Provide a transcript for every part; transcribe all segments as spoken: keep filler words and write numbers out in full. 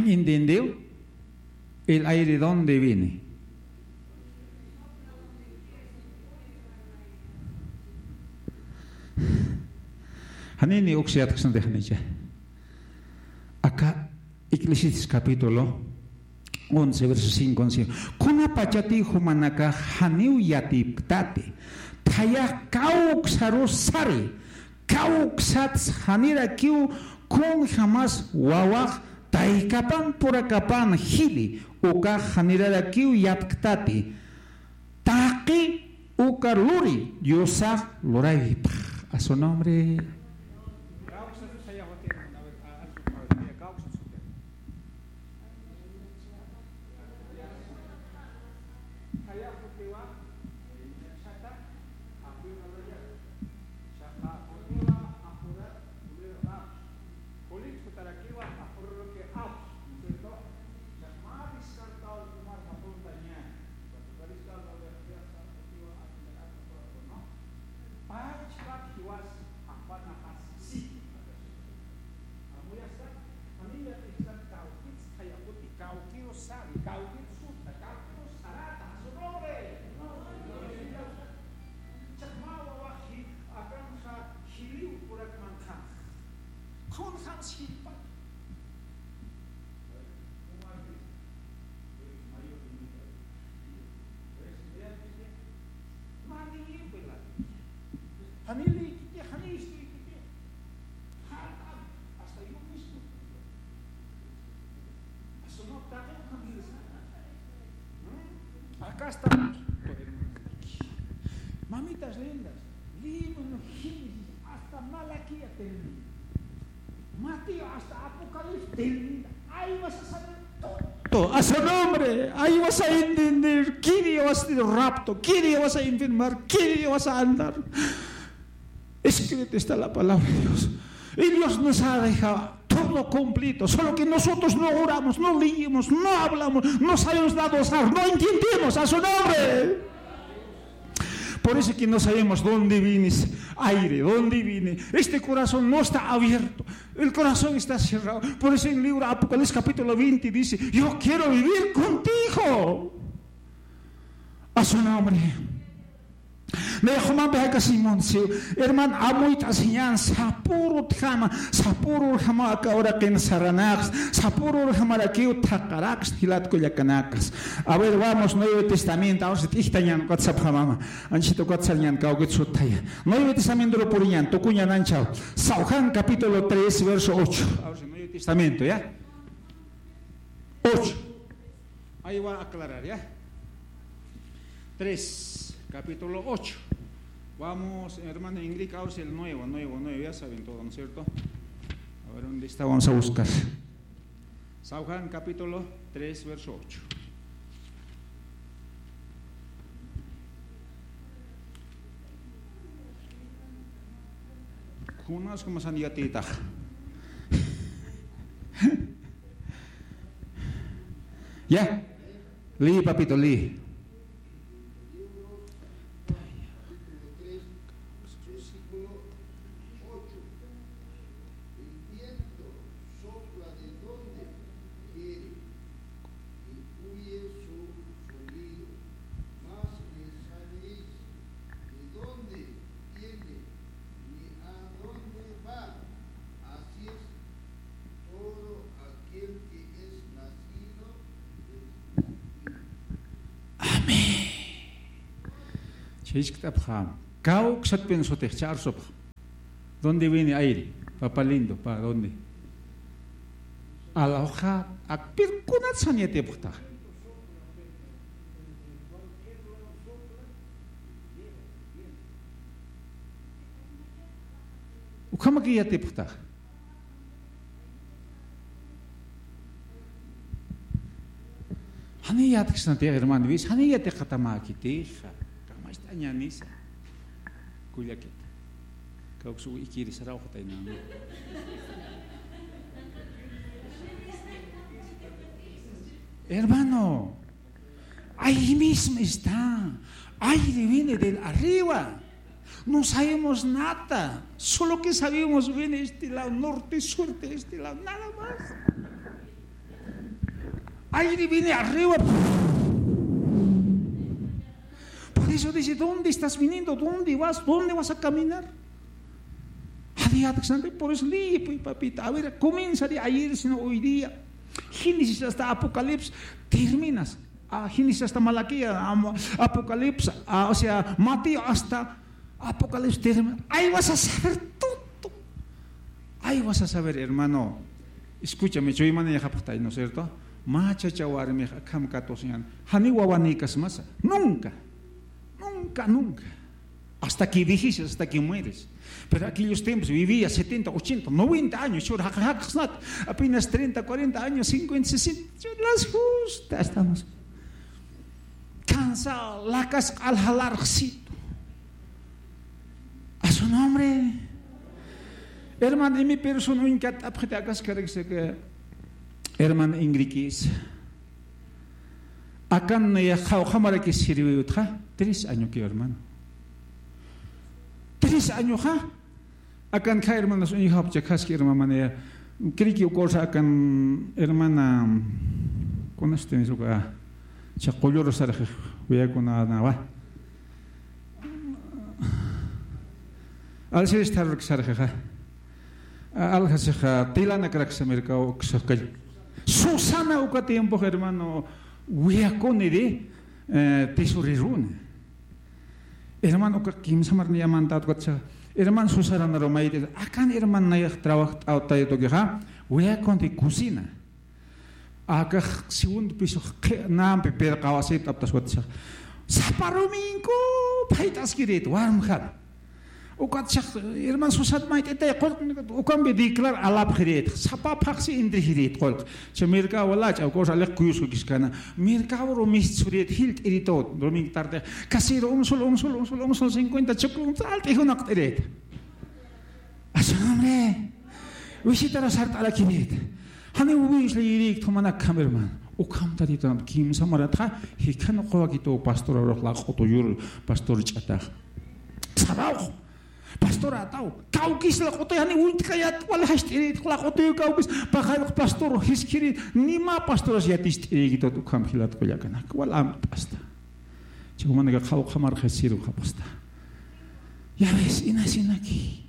¿Entendió? El aire dónde viene. Janini uksiyat ksnti janicha. Aka Eclesiastés capítulo once, verso cinco, once. Kunapachati jumanakax janiw yatipktati, thayax kawksaru sari, kawksats janirakiw kunjamas wawax taykapan purakapan jili, ukax janirarakiw yatktati. Taqi uka luri Diosax luraypx. A su nombre. Kullitxutarakiwa apururaki apsu, ¿no es cierto? Chaqma descartado tomar papuntaña. Cuando está descartado, ya está, ya está, ¿no? Pachpak jiwas apanapas sí. Amuyasa, familia, están kawkits, kawkits, kawkits, kawkits, kawkits, sarata, a su nombre. Chaqma wawaxi, akanxa, jiliw purak manqha. Kunjam sirpa. Janilikiti, janilikiti. Hasta yo mismo. Acá está. Mamitas lindas, libro Génesis hasta Malaquías termina. Mateo hasta Apocalipsis termina. Ahí vas a saber todo. A su nombre, ahí vas a entender qué día vas a tener rapto, qué día vas a enfermar, qué día vas a andar. Escrito está la palabra de Dios. Y Dios nos ha dejado todo completo, solo que nosotros no oramos, no leemos, no hablamos, no sabemos nada usar, no entendemos. A su nombre. Por eso que no sabemos dónde viene ese aire, dónde viene. Este corazón no está abierto. El corazón está cerrado. Por eso en el libro Apocalipsis capítulo veinte dice: "Yo quiero vivir contigo." A su nombre. Nayax jumampi jakasiñ munsiw. Herman, amuyt'asiñan, sapürutjama, sapürurjama aka uraqin saranaks, sapürurjamarakiw thaqharaks, jilat kullakanakas. A ver, vamos, Nuevo Testamento, ahora sí, t'ijtañan, ukat sapxamama. Anchita ukat sarñan, kawkit suthaya. Nuevo Testamento lo puriñan, tukuñan anchaw. San Juan capítulo tres, verso ocho. Ahora sí, Nuevo Testamento, ¿ya? Ocho. Ahí va a aclarar, ¿ya? Tres, capítulo ocho. Vamos, hermana Ingrid, ahora sí el nuevo, nuevo, nuevo, ya saben todo, ¿no es cierto? A ver, ¿dónde está? Vamos a buscar. San Juan capítulo tres, verso ocho. Kunas kumasan yatitax. Ya. Lee, papito, lee. El viento sopla de donde quiere y huye su sonido, mas no sabéis de dónde viene ni a dónde va. Así es todo aquel que es nacido de Espíritu. Amén. Chiskt'apxam. Kawksatpin sutix charsupx. ¿Dónde viene aire? Papa lindo, ¿pa dónde? Alawxa, akpir kunat sanyatipxta. Ukhamaki yatipxta. Jani yatksnati, hermano, wis, jani yatxatamäkitixa, kamacht'añanisa. Kullakit. Kawksu ikiri sarawxatayna. Hermano, ahí mismo está. Aire viene del arriba. No sabemos nada. Solo que sabemos viene este lado, norte, sur, este lado, nada más. Aire viene arriba. Por eso dice, ¿dónde estás viniendo? ¿Dónde vas? ¿Dónde vas a caminar? Por eso, pues, papita, a ver, comienza de ayer, sino hoy día. Génesis hasta Apocalipsis, terminas. Ah, Génesis hasta Malaquías, am-, Apocalipsis, ah, o sea, Mateo hasta Apocalipsis termina. Ahí vas a saber todo. Ahí vas a saber, hermano. Escúchame, chuymaniyapxtay, ¿no es cierto? Mä chacha warmix akham katusiñan. Janiw wawanïkasmasa. Nunca. Nunca, nunca. Hasta que vejez, hasta que mueres. Pero aquellos tiempos vivía setenta, ochenta, noventa años, chur jaq-, jaqsnat, apenas treinta, cuarenta años, cincuenta, sesenta, chur las justas estamos. Cansado, lakas q'aljalarxsitu. A su nombre. Hermano, y mi persona uñkat apxita akaskaraksa que hermano Ingriquis. Akan nayax qhawqhamaraki sirviw utxa, tres año que hermano. Tres añoxa, akan kha hermanas uñjapcha khaski hermana manaya, criki uka ursa akan hermana, ¿conoce uka? Cha qullur sarxix wiyakunanawa. Alsiris tharurk sarxixa. A-, aljasixa, tilanakraksa mercado uksa kall. Susana uka tiempo, hermano, wiyakuniri, eh, tesoreruna. Hermano, uka kimsa marniyamantät ukatsa. Hermano Susana naru mayt'it. Akan hermano nayax trabajo t'awtayatukixa, wiyakunti cocina. Akax segundo piso qhi-, nampi pirqawasipt'aptas watsa. Sapa domingo phayt'askirit, warmjan. Ukatsa, hermano Susana mayt'itay, qullq, ukampi declar alapxirit. Sapa phaxsi intrixirit, qullq. Cha mercado wala, cha, uka ursa aliq kuyuskukiskana. Mercado ru mistsurit, jilt'iritut, domingo tarde. Casero, un sol, un sol, un sol, un sol cincuenta, chukun, alt'i junaqt'irit. A su nombre. Visitara sart'arakirit. Janiw ubish la yirïkt jumanak kham, hermano. Ukham Tatitunamp kimsa maratxa, jikhan uqawakitu pastor urux laq'utu yur pastor ch'atax. Sarawx. Pastor ataw. Kawkis laq'utu jani uñtkayat wal jast'irit laq'utu kawkis. Pajarux pastor jiskiri. Nima pastoras yatist'irïkitut ukham jilat qullakanak. Wal amt'asta. Chiq jumanaka qhawqhamar jasiru japasta. Ya ves, inasinaki.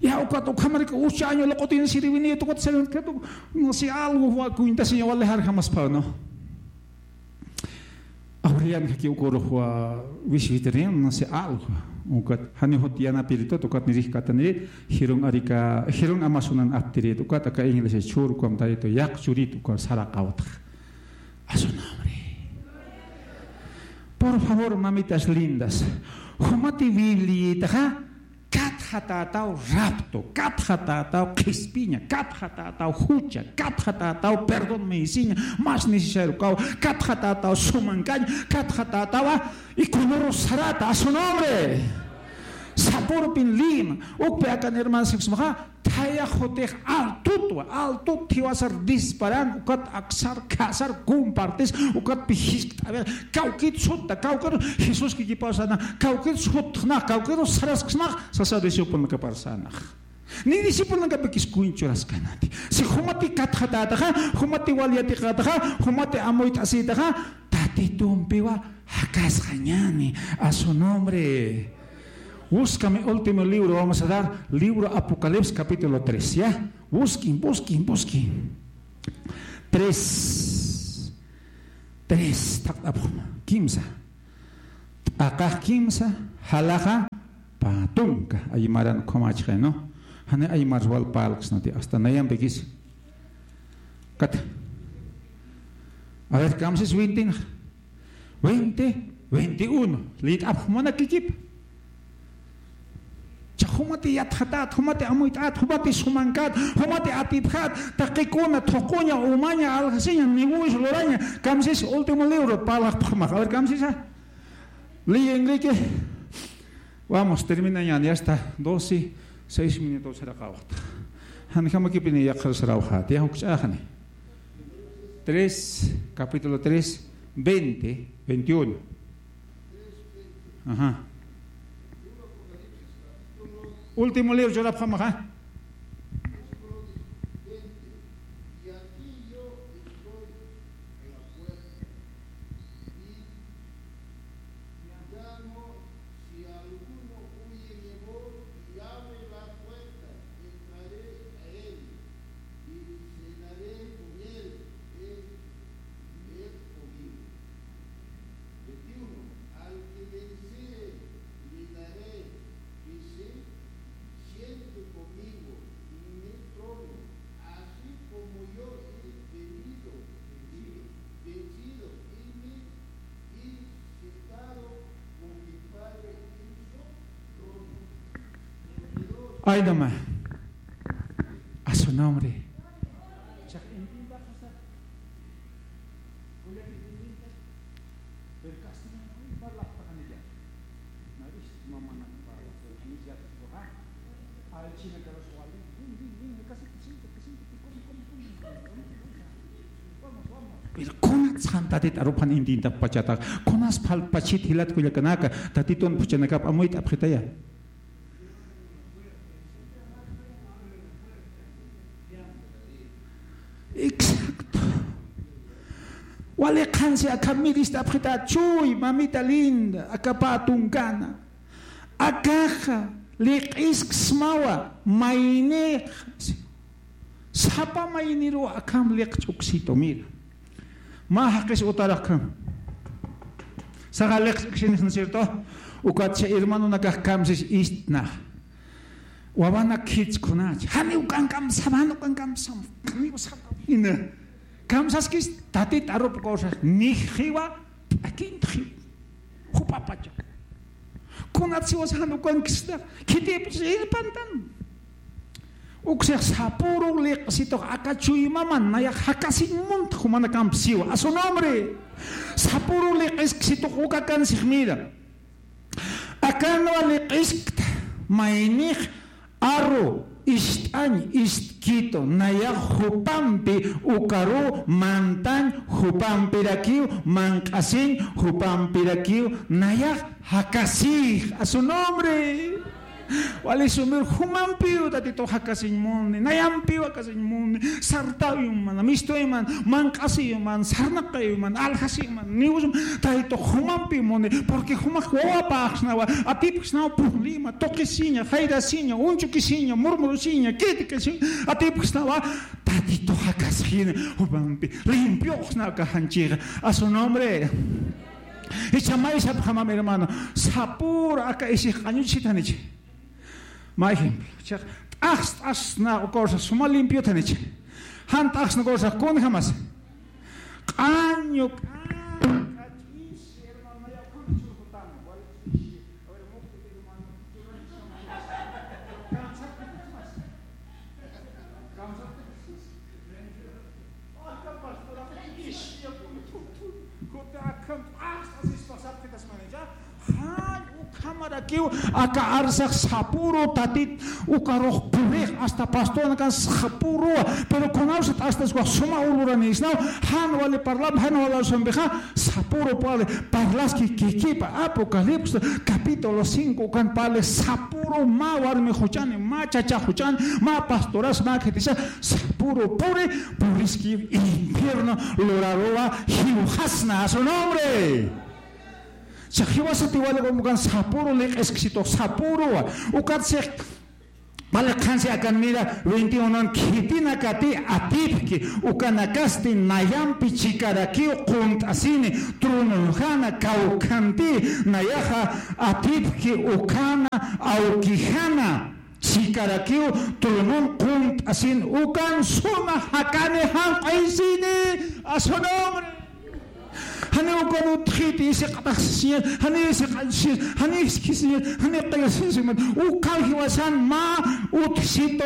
Ya, ukat, ukhamaraki ucha año laq'utin sirviniyat ukat sirviniyat, no sé, algo, wa, cuenta, señor, wal dejar jamás pa, ¿no? Abrian kaki ukurux wa, visitarin, no sé, algo. Ukat, jani jut yanapiritut, ukat nirix katanirit, jirun arika, jirun Amazonan aptirit, ukat, aka iglesia chur, ukamtaritu, yaq churit, ukat, saraqawtx. A su nombre. Por favor, mamitas lindas. Jumati Bibliayitaxa, katxatätaw rapto, katxatätaw qhispiña, katxatätaw jucha, katxatätaw perdón meyisiña, más necesario kaw, katxatätaw sumankañ, katxatätawa, y color sarata, a su nombre. Sapurpin lima, ukpi akan hermano sexmaxa, Thayax jutix altutwa, altut thiwasar disparan, ukat aksar, khasar, compartis, ukat pi jiskt'awi, kawkit sutta, kawkit Jesús kikipaw sana, kawkit suttxna, kawkit sarasksna, sasa discipulnakapar sana. Ni discipulnakapikis kuñchuraskanati. Si jumati katxatätaxa, jumati wal yatiqätaxa, jumati amuyt'asïtaxa, Tatitumpiwa jakasxañäni, a su nombre. Búscame último libro, vamos a dar libro Apocalipsis capítulo tres, ¿ya? Busquen, busquen, busquen. Tres. Tres, taqt'apxma. Kimsa. T'aqax kimsa, jalaxa pä tunka. Aymaran ukhamächixay, ¿no? Jani aymars wal parlksnati, hasta nayampikis. Kat. A ver, kamsis veintinak. Veinte, veintiuno. Liyt'apxi jumanakikip. Cha jumati yatxatät, jumati amuyt'ät, jumati sumankät, jumati atipxät, taqikuna, thuquña, umaña, aljasiña, niwis, luraña, kamsis último libro, parlaxpxmax. A ver, kamsisa. Liy, Enrique. Vamos, terminañan, ya está, doce, seis minutos saraqawxta. Janjamakipini yaqhar sarawxät, ya jukch'axani. Tres, capítulo tres, veinte, veintiuno. Ajá. Último libro, churapxamaxa. Ay, no más. A su nombre. Pero kunats jan Tatit aruphan intintapxpachata, kunas phalpachit jilat kullakanaka, Tatitun phuchhanakap amuyt'apxitaya. Exacto. Wali qhansi akham mirist'apxita, chuy, mamita linda, aka pä tunkana. Akaxa liq'isksmawa, maynixa. Sapa mayniruw akham liqch'uksitu, mira. Mä jaqis utarax akham. Saxa liqch'uksinix, ¿no es cierto? Ukatsa hermanonakax kamsis ist'nax. Wawanak khits kunach. Janiw ukan kamsam, janiw ukan kamsam. Janiw sapa. Ina. Kamsaskis Tatit arup cosas. Nix jiwa, t'akint jiwa. Jupapacha. Kunat siwas jan ukankista, khitipis irpantan. Uksix sapüru liq'situx aka chuymama nayax jakasiñ munt jumanakamp siwa. A su nombre. Sapüru liq'isksitux uka akansix, mira. Akanwa liq'iskta, maynix aru ist'añ ist'kitu, nayax jupampi ukaruw mantañ, jupampirakiw manq'asiñ, jupampirakiw nayax jakasix. A su nombre. Wali sumir jumampiw Tatitux jakasiñ muni, nayampiw jakasiñ muni, sartawiw mana, mistuwiw mana, manq'asiwiw mana, sarnaqiwiw mana, aljasiwiw mana, niwsum Tatitux jumampiw muni, porque jumax wawapaxsnawa, atipxsnawa, purlima, tuqisiña, jayrasiña, unchukisiña, murmurusiña, criticasiña, atipxsnawa, Tatitux jakasxini, jupampi, limpioxsnawa kaxanchixa, a su nombre. Icha may sapxamam, hermano, sapüru aka isix q'añuchitanichi. Mä ejemplo, chiq, t'axs, t'axsna uka ursax suma limpio thanichi. Jan t'axsna uka ursax kunjamas. Q'añu, q'añu, q'añu. Jan ukhamarakiw aka arsax sapüru Tatit ukarux purix, hasta pastoranakan sapüruwa, pero kunawsa t'axtaswa suma uluranïsnaw, jan wali parlap, jan wali arsampixa, sapüru parli, parlaski kikipa, Apocalipsis capítulo cinco ukan parli, sapüru mä warmi juchani, mä chacha juchani, mä pastoras, mä khitisa, sapüru puri, puriski infierno luraruwa jiwxasna, a su nombre. Chiq, jiwasati wali ukan sapüru liq'isksitux, sapüruwa. Ukat chiq, wali qhansi akan mira, veintiuno, khitinakati atipki, ukanakasti nayampi chikarakiw qunt'asini, trununjana, kawkhanti, nayaxa atipki, ukhana, awkijana. Chikarakiw trunun qunt'asin ukan suma jakani janq'aysini, a su nombre. Jani ukan utjiti, isiq'ataxsisiñas, jani isiq'añsiñas, jani iskisiñas, jani qillasiñas, ukan jiwasan mä utjsitu,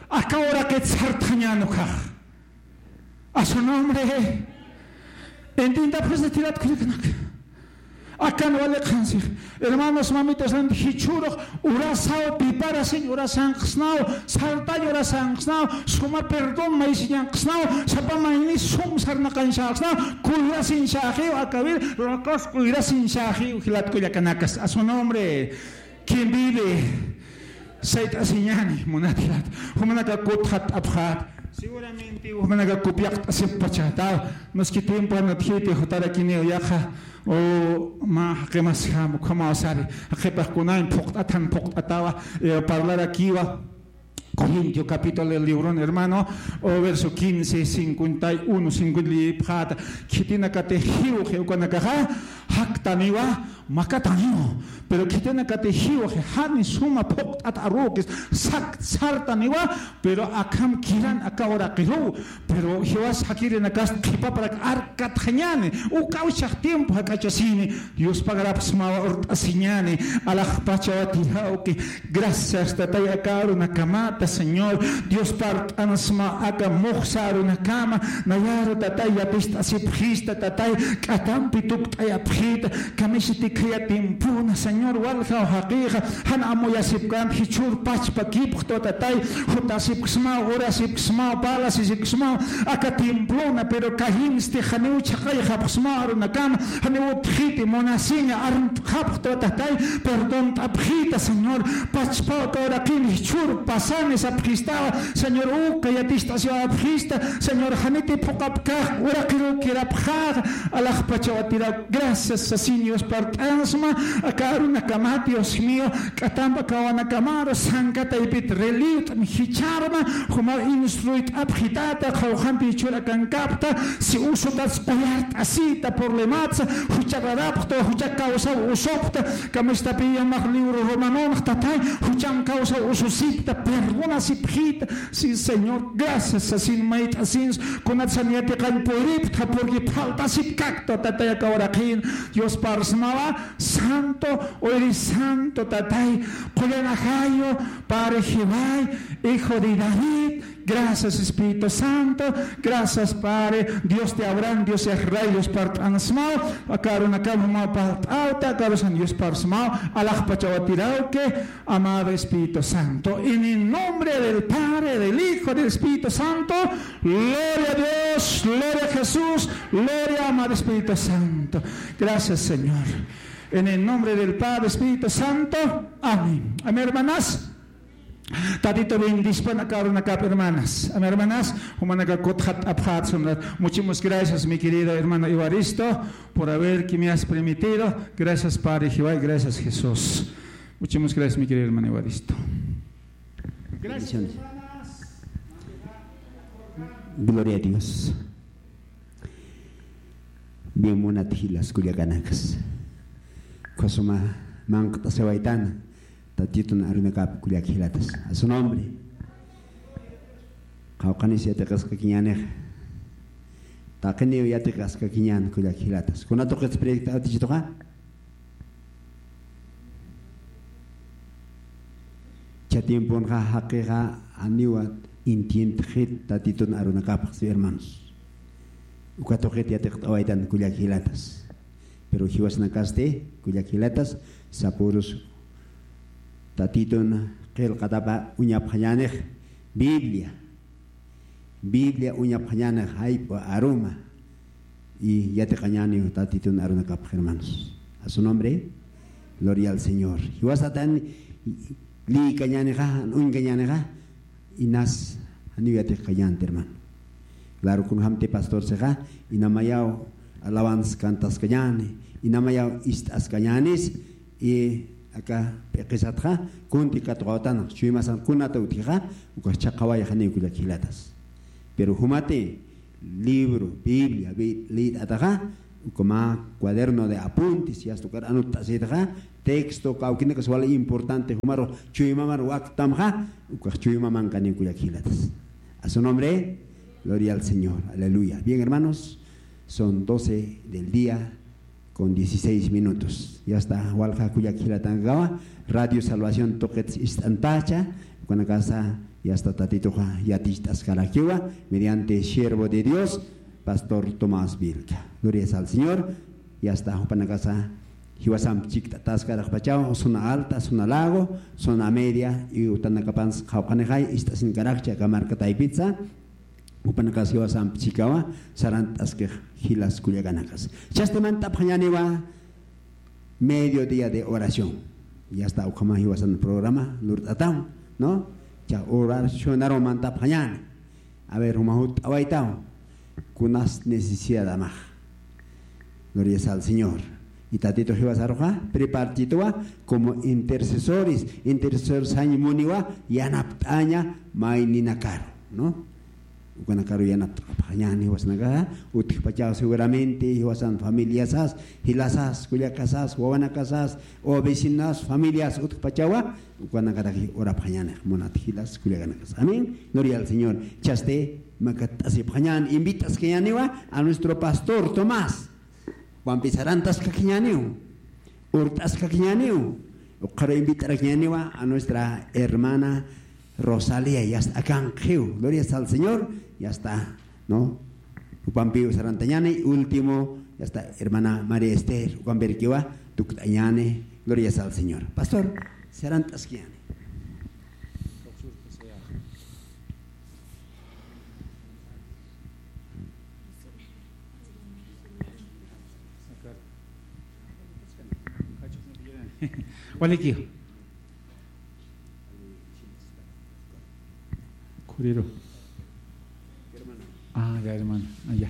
aka uraqit sartxañän ukax. A su nombre. Entienda, pues, tirat kullakanak. Akan wali qhansix. Hermanos, mamitas, jichhürux urasaw preparasiñ, urasanqsnaw, sartañ urasanqsnaw, suma perdón maysiñanqsnaw, sapa mayni sum sarnaqañsänqsnaw, cuidasiñsäxiw, akawir, rakas cuidasiñsäxiw, jilat kullakanakas. A su nombre. ¿Quién vive? Sayt'asiñäni, munat jilat. Jumanaka kutxatt'apxät. Seguramente jumanaka copiaqt'asipxpachätaw. Nos que tiempo anatjiti jutarakiniw yaqha. O mä jaqimasjam, ukhamaw sari. Jaqipax kunañ phuqt'atan phuqt'atawa, eh, parlarakiwa. Corintio capítulo del libro, hermano, o verso quince, cincuenta y uno, cincuenta y pxata. Khitinakati jiwxi ukanakaxa, phaktaniwa, makataniwa. Pero khitinakati jiwaxi jani suma phuqt'at arukis sakt sartaniwa, pero akham kiran aka uraqiruw. Pero jiwas jakirinakasti qhipaparak arkatxañäni, uka uchax tiempo jak'achasini, Dios pagarapxsmawa urt'asiñäni, alaxpachawa tirawki. Gracias, Tatay, aka arunakamata, Señor. Dios parlt'ansma aka muxsa arunakama. Nayaru, Tatay, yaticht'asipxista, Tatay, k'atampi tukt'ayapxita. Kamisiti khaya tiempona, Señor, waljaw jaqixa jan amuyasipkam, jichhür pachpakipxtwa, Tatay. Jutasipksmaw, urasipksmaw, parlasisipksmaw aka tiemplona, pero kayinsti janiw chhaqayxapxsmaw arunakama, janiw utjiti munasiña, armt'xapxtwa, Tatay, perdont'apxita, Señor, pachpaw aka uraqin jichhür pasani sapxistawa, Señor, uka yaticht'asiwapxista, Señor, janiti phuqhapkax, uraqirukirapxaxa, alaxpachawa tiraw, gracias sasin, Dios parlt'ansma aka arunakamat, Dios mío, k'atamp aka wawanakamaru sanka taypit reliwt'am, jichharma, juma instruyt'apxitata, qhawqampi jichhür akankapxta, si usutats qullart'asita, problematsa, jucha rarapxta, jucha causaw usupxta, kamistapi yamax libro Romanonx, Tatay, jucham causaw ususipxta, perdonasipxita. Sí, Señor, gracias sasin, mayt'asins, kunatsa ni yatiqañ puripxta, porque faltasipkakta, Tatay, aka uraqin, Dios parlsmawa, santo, oyri santo, Tatay, qullan ajayu, Padre Jehová, Hijo de David, gracias, Espíritu Santo, gracias, Padre, Dios de Abraham, Dios de Israel, Dios parlt'ansmaw, aka arunakama parlt'awta, aka arusan Dios parlsmaw, alaxpachawa tirawki, amado Espíritu Santo, en el nombre del Padre, del Hijo, del Espíritu Santo, gloria a Dios, gloria a Jesús, gloria, amado Espíritu Santo. Gracias, Señor. En el nombre del Padre, Espíritu Santo. Amén. Amén, hermanas. Tatito bendispan aka arunakap, hermanas. Amén, hermanas. Jumanaka kutxat apxat sunrat. Muchísimas gracias, mi querido hermano Evaristo, por haber que me has permitido. Gracias, Padre Jehová, y gracias, Jesús. Muchísimas gracias, mi querido hermano Evaristo. Gracias, hermanas. Gloria a Dios. Bien, munat jilas kullakanakas. Ukhasuma manq't'asiwaytan Tatitun arunakap kullak jilatas. A su nombre. Qawqhanis yatiqaskakiñänixa. Taqiniw yatiqaskakiñän kullak jilatas. Kuna tuqits proyecto atichituxa. Cha tiemponxa jaqixa janiw entiendxit Tatitun arunakapxsi, hermanos. Uka tuqit yatiqt'awaytan kullak jilatas. Pero jiwasanakasti kullak jilatas, sapürus Tatitun qillqatapa uñapxañänix Biblia. Biblia uñapxañäni jayp'u aruma. Y yatiqañäni Tatitun arunakapx, hermanos. A su nombre, gloria al Señor. Jiwasatan liykañänixa, uñkañänixa, inas janiw yatiqañänti, hermano. Claro, kunjamti pastorsixa, inamayaw alabanza cantaskañäni, inamayaw ist'askañänis, y aka p'iqisatxa, kunti katuqawtan, chuymasan kunata utjixa, ukax chhaqawayxaniw kullak jilatas. Pero jumati libro, Biblia, bi-, liyt'ataxa, uka mä cuaderno de apuntes, yasta ukar anutt'asitaxa, texto, kawkinakas wali importante, jumaru chuymamar waktamxa, ukax chuymamankañäni kullak jilatas. A su nombre, gloria al Señor, aleluya. Bien, hermanos, son doce del día, con dieciséis minutos. Yasta walja kullak jilatankawa, Radio Salvación tuqits ist'antacha, ukanakasa yasta Tatituxa yaticht'askarakiwa, mediante siervo de Dios, Pastor Tomás Vilca. Gloria al Señor. Yasta jupanakasa jiwasamp chikt'ataskaraxpachaw, zona alta, zona lago, zona media, y utanakapans qawqhanixay ist'asinkarakchi aka marka taypitsa. Jupanakas jiwasamp chikawa, sarant'askix jilas kullakanakas. Chasti mantapxañäniwa medio día de oración. Yasta ukhama jiwasan programa lurt'ataw, ¿no? Cha oracionaru mantapxañäni. A ver, juma jutt'awaytaw. Kunas necesidadamax. Gloria al Señor. Y Tatitu jiwasaruxa, prepartituwa como intercesores, intercesores sañ muniwa, yanapt'aña mayninakaru, ¿no? Ukanakaru yanapt'apxañäni jiwasanakaxa, utjpachaw seguramente jiwasan familiasas, jilasas, kullakasas, wawanakasas, o vecinas, familias utjpachawa, ukanakarakix urapxañäni, munat jilas, kullakanakas. Amén. Gloria al Señor. Chasti, makatt'asipxañäni, invitaskañäniwa a nuestro pastor Tomás. Jupanpi sarantaskakiñäniw, urt'askakiñäniw, ukxaru invitarakiñäniwa a nuestra hermana Rosalía, ya está, akanxiw. Gloria al Señor, ya está, ¿no? Jupampiw sarantañäni, último, ya está, hermana María Esther, jupampirkiwa tukt'añäni, gloria al Señor. Pastor, sarantaskiñäni. Waliki. Khuriru. Ah, ya, hermano. Ah, ya.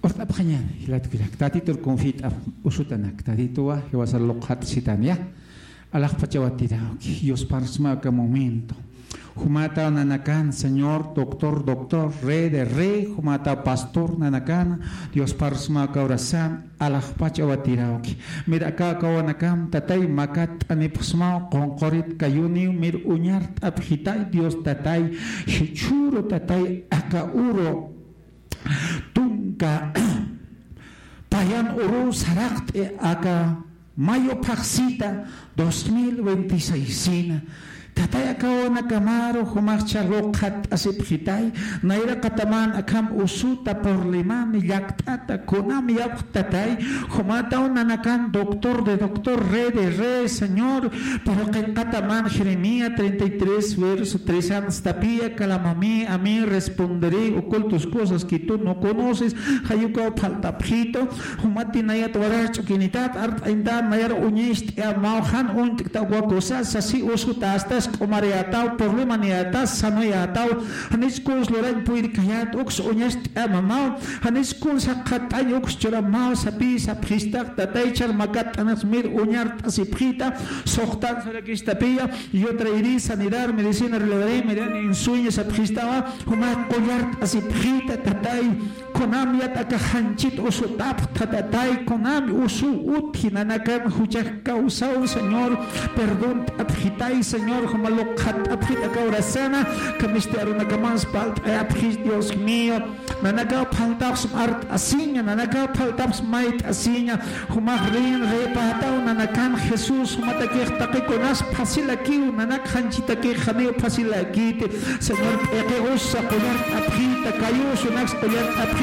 Urt'apxañäni, jilatukirak. Tatitur confit'ap usutanak. Tatituwa, jiwasa luqhat sitan, ya. Alaxpachawatirawki, Dios parsma aka momento. Jumata nanakan, Señor, doctor, doctor, rey de rey, jumata pastor nanakan, Dios parsma aka orasan, alaxpachawatirawki. Mir aka aka wanakan, tatay, makatt'anipxsmaw, qunqurit kayuniw, mir uñart'apxitay, Dios tatay, jichhüru tatay, aka uru, tunka, payan uru saraqt'i aka mayo phaxsita dos mil veintiséis sina. Tatay aka wawanakamaru jumaxcha luqhatt'asipxitay, nayra qataman akham usuta, problemani, llakt'ata, kunam yapxtatay, jumataw nanakan doctor de doctor, rey de rey, Señor, pero qillqataman Jeremías treinta y tres, verso tres, anstapiya, clama a mí, a mí responderé, ocultas cosas que tú no conoces, jayukaw phaltapxitu, Jumatinayat warar ch'ukinitat, art'añtat, nayar uñacht'amaw, jan uñt'kta wakusas, sasi usutastas, q'umariyataw, problemaniyataw, sanoyataw, janis kuns lurañ puyrkayat, uks uñacht'amaw, janis kuns jaqatañ uks churamaw, sapi sapxistax, tatay char makatt'anax mir uñart'asipxita, suxtan sarakistapiya, y otra herida, sanidad, medicina, relevare, medicina, insueño sapxistawa, juma qullart'asipxita, tatay, Kunam yat aka janchit usutapxta, tatay, kunam usu utji nanakan juchax kawsaw, Señor, perdont'apxitay, Señor, juma luqhatt'apxit aka urasana, kamisti arunakamas palt'ayapxit, Dios mío, nanakaw phaltapxsma art'asiña, nanakaw phaltapxsma mayt'asiña, jumax rin reypätaw nanakan Jesús, jumatakix taqikunas phasilakiw, nanak janchitakix janiw phasilakiti, Señor, p'iqi usa qullart'apxita, kayusunaks qullart'apxita,